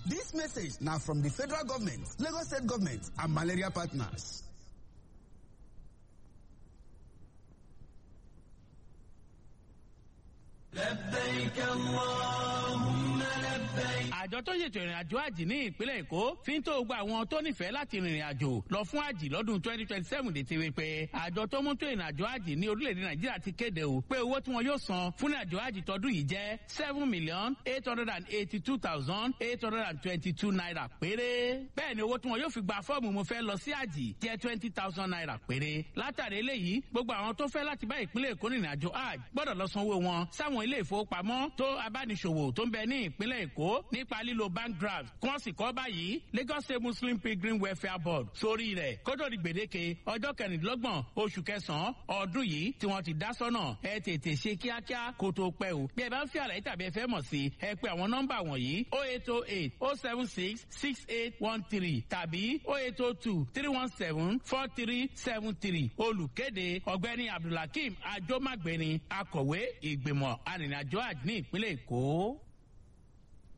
This message now from the federal government, Lagos State government, and malaria partners. لبيك اللهم لبيك. Àjọ tó ṣètò ìrìn àjò àjì ní ìpínlẹ̀ Èkó fi ń tó gba àwọn tó nífẹ̀ẹ́ láti rìnrìn àjò lọ fún àjì lọ́dún 2027 létí wípé àjọ tó mú tó ìrìn àjò àjì ní orílẹ̀-èdè Nàìjíríà ti kéde o pé owó tí wọn yóò san fún ìrìn àjò àjì tọdún yìí jẹ́ ₦7,882,822 péré. Bẹ́ẹ̀ ni owó tí wọn yóò fi gba fọ́ọ̀mù mo fẹ́ lọ sí àjì jẹ́ ₦20,000 péré. Látàrí eléyìí, gbogbo àwọn tó fẹ́ láti bá ìpínlẹ̀ Èkó rìnrìn àjò àjì gbọ́dọ̀ lọ sanwó wọn sáwọn ilé ìfowópamọ́ tó abániṣòwò tó ń bẹ ní ìpínlẹ̀ Èkó nípa lílo bank draft kí wọ́n sì kọ́ báyìí Lagos State Muslim Pilgrim Welfare Board sórí rẹ̀ kótó di gbèdéke ọjọ́ 26 oṣù kẹsàn-án ọdún yìí tí wọ́n ti dá sọ́nà. Ẹ tètè ṣe kíákíá kó tó pẹ́ o. Bí ẹ bá ń fi àlàyé tàbí ẹ fẹ́ mọ̀ sí, ẹ pè àwọn nọ́mbà wọ̀nyí: 0808 076 6813 tàbí 0802 317 4373. Olùkéde, ọ̀gbẹ́ni Abdulhakeem Ajomagbeni, akọ̀wé ìgbìmọ̀ arìnrìnàjò àjò ní ìpínlẹ̀ Èkó.